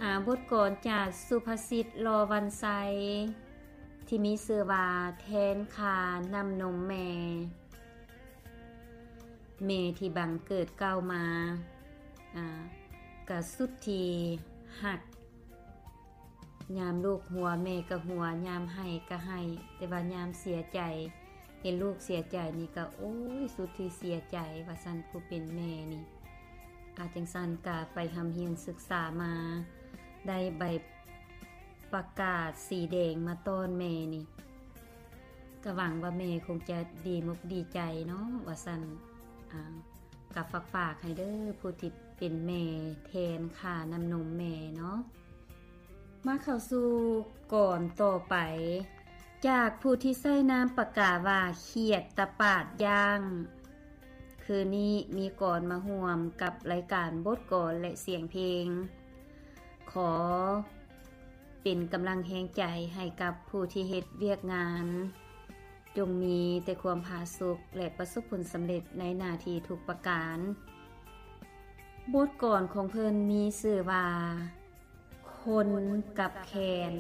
ຫາບົດກອນຈາກສຸພາສິດຫຼໍ່ວັນໄຊ ທີ່ມີຊື່ວ່າ ແທນຄ່ານ້ຳນົມແມ່. ແມ່ທີ່ບັງເກີດເກີດມາ ອາ ກະສຸດທີ່ຮັກ. ຍາມລູກຫົວແມ່ກະຫົວ, ຍາມໄຫ້ກະໄຫ້, ແຕ່ວ່າຍາມເສຍໃຈ ເຫັນລູກເສຍໃຈນີ້ກະ ໂອ້ຍ ສຸດທີ່ເສຍໃຈວ່າຊັ້ນ ຜູ້ເປັນແມ່ນີ້. ອາ ຈັ່ງຊັ້ນກະໄປຮ່ຳຮຽນສຶກສາມາ ໄດ້ໃບປະກາດສີແດງມາຕ້ອນແມ່ນີ້ ກະຫວັງວ່າແມ່ຄົງຈະດີມົກດີໃຈເນາະ ວ່າຊັ້ນ. ອາ ກະຝາກໆໃຫ້ເດີ ຜູ້ທີ່ເປັນແມ່ແທນຄ່ານ້ຳນົມແມ່ເນາະ. ມາເຂົ້າສູ່ກອນຕໍ່ໄປ ຈາກຜູ້ທີ່ໃຊ້ນາມປາກກາວ່າ ຂຽດຕະປາດຍ່າງ. ຄືນນີ້ມີກອນມາຮ່ວມກັບລາຍການບົດກອນ ແລະ ສຽງເພງ. ຂໍເປັນກຳລັງແຮງໃຈໃຫ້ກັບຜູ້ທີ່ເຮັດວຽກງານ. ຈົ່ງມີແຕ່ຄວາມຜາສຸກ ແລະ ປະສົບຜົນສຳເລັດໃນໜ້າທີ່ທຸກປະການ. ບົດກອນຂອງເພິ່ນມີຊື່ວ່າ ຄົນກັບແຄນ.